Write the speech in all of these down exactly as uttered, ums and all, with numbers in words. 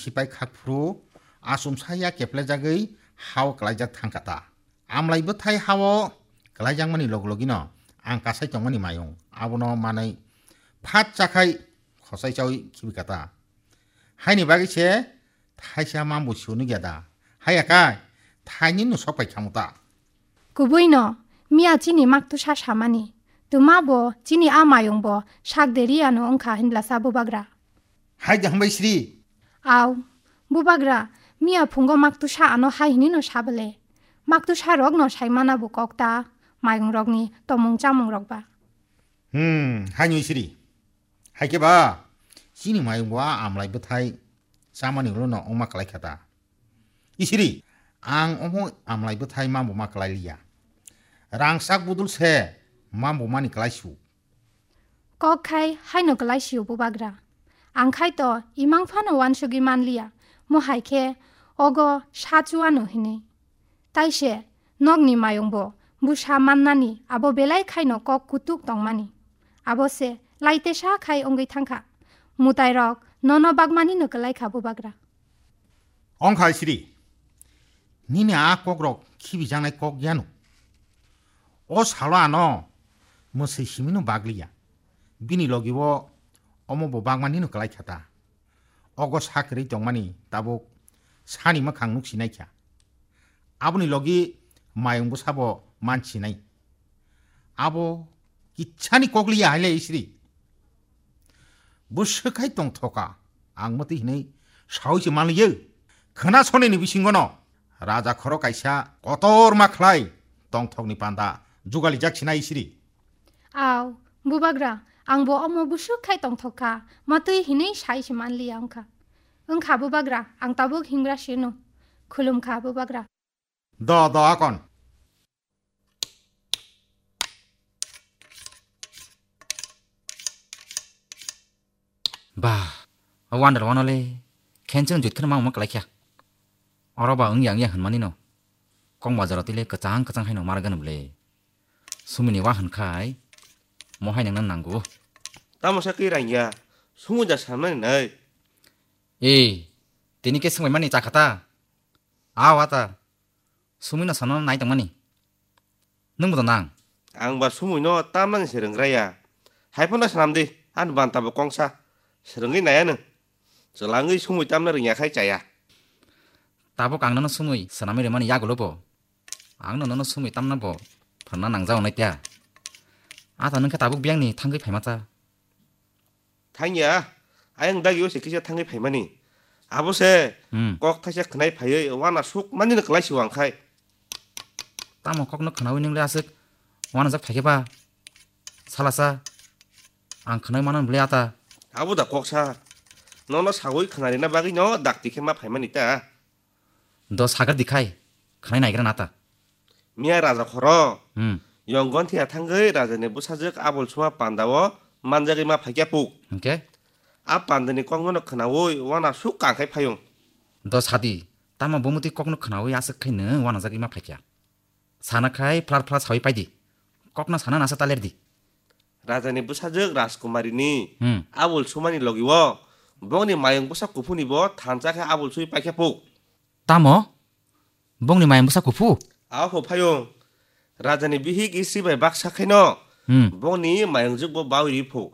Sipai khakphuru achomsa ya keplejagwi hao klaijak thangkha ta. Amlai bwthai hao klaijakmani log logino ang kasai tongmani mayung abono manwi phat chakhai khosai chawi khibika ta. Haini bagwi se thaisa mambo sunu gya da. Haya kai thaini no sok pai khamu ta. Kubui no, miya chini maktusa samani. Tuma bo chini a mayung bo sak deri ano wngkha hinlasa bubagra. Hai da hambai sri. Au, bubagra, miya phungo maktusa ano hai hini no sabale. Maktusa rok no saimana bo kok ta, mayung rok ni tomung chamung rok ba. Hmm, hai nui sri. Hai khe ba, chini mayung bo a amlai bwthai chamani ulo no wngma klai kha ta. Isiri, ang omo amlai bwthai mambo ma klai liya. Rangchak budul se mambo mani klai su. Kok khai haino klai sio bubagra. Ang khai to imang phano wansugwi man liya. Mo hai khe ogo sa chuano hinwi. Tai se nokni mayung bo busa mannani abo belai khaino kok kutuk tongmani. Abo se laite sa khai wngwi thangkha. Mutai rok nono bagmani no klai kha bubagra. Ongkha siri. Nini a kokrok khibijaknai kok yano. O salo ano mwswi simino bagliya. Bini logi o omo bo bagmani no klai kha ta. Ogo sakwrwi tongmani tabuk sani mwkhang nuk sinai kha. Aboni logi mayung bwsabo man sinai. Abo kitsani kokliya haile isri. Bwswk khai tongthoka, ang mwtwi hinwi saui se manliyo. Khwna sonini bisingono raja khoro kaisa kotorma khlai tongthokni panda jugalijak sinai isri. Au, bubagra, ang bo omo bwswk khai tongthok kha, mwtwi hinwi sai se manliya wngkha. Wngkha bubagra, ang tabuk hingra sino. Khulum kha bubagra. Do, do, akon. Bah, o wonder wano le, khencheng jut kheno mangma kalaikha. Oro ba wngya wngya hwnmani no. Kong bazaro tile kwchang kwchang haino margan bwle. Sumini wa hwnkhai, mo hai nangna nango. Tamo sa kwi rangya, sumu da sanmani nai. Ei, tini ke swngbai mani chakhata. Aw ata. Sumui no sana nai tongmani. Nwng bo to nang. Ang ba sumui no tamnani se rwngraya. Hai phano swnam di, ani banta bo kongsa. Swrwngwi naya nwng. Chwlangwi sumui tamna rwngya khai chaya. Tabuk ang nono sumui swnamwi rwmani yagulo bo. Ang no nono sumui tamna bo phwrwngna nangjago nai pya. Ata nwng khe tabuk biyangni thangwi phaima cha. Thangya, ayang dagi o se kisa thangwi phaimani. Abo se Hmm. kok thaisa khwnai phaiwi wana suk mani no kwlai si wang khai. Tamo kokno khwnawi nwngle aswk wanajak phaikhe ba? Salasa, ang khwnai mano bwle ata. Abo da koksa. Nono sagwi khwnarina bagwi no dakti khe ma phaimani ta. Do sagar dikhai, khwnai naigra nata. Miya raja khoro. Hmm. Yong gonthi athangwi rajani bwsajwk abol suma panda o manjagwi ma phaikya puk. Hwnkhe? A pandani kokno khwnawi wana suk kangkhai phayung. Do sadi, tamo bumutwi kokno khwnawi aswk khai nwng wanajagwi ma phaikya. Sana khai phlar phlar sawi paidi. Kokno sana nasa talerdi. Rajani bwsajwk Rajkumarini Hmm. abol sumani logi o bongni mayung bwsa kuphuni bo thansa khe abol sui paikya puk. Tamo? Bongni mayung bwsa kuphu? Aho phayung. Rajani bihik isi bai baksa khaino Hmm. bongni mayungjwk bo bawi ri phu.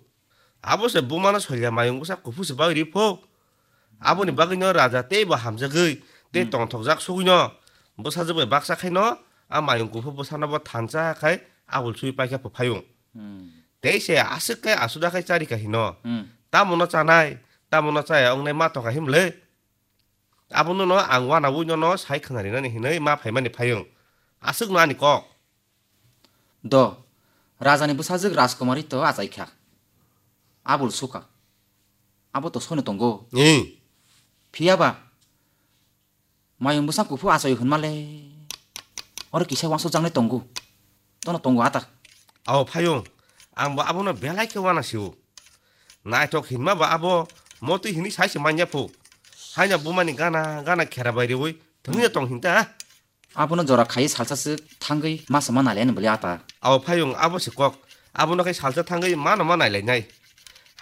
Abo se bumano soilya mayung bwsa kuphu se bawi ri phu. Aboni bagwino raja tei bo hamjagwi tei Hmm. tongthokjak sugwino bwsajwk bai baksa khaino a mayung kuphu bwsano bo thansa khai abol sui paikha phu phayung. Hmm. Tei se aswk khai asuda khai charika hino. Hmm. Tamono chanai, tamono chaya wngnai ma tongkha himle. Abono no ang wanawi nono sai khwnarinani hinwi ma phaimani phayung. Aswkno ani kok. Do, rajani bwsajwk Rajkumari to achaikha. Abul suka. Abo to soino tongo. Ni. Phiyaba, mayung bwsa kuphu achai hwnmale. Oro kisa wansukjaknai tongo. Tono tongo ata. Ao phayung. Ang bo abono belai khe wana sio. Naithok hinma ba abo motwi hinwi sai se manya phu. Haina bumani gana gana khera bai riwi thwngya tong hinta. Abono jora khai salsa swk thangwi masa ma nailaini bwle ata. Ao phayung abo se kok. Abono khai salsa thangwi mano ma nailainai.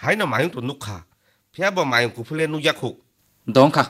Haino mayung to nukha. Phiya bo mayung kuphule nukya khu. Dongkha.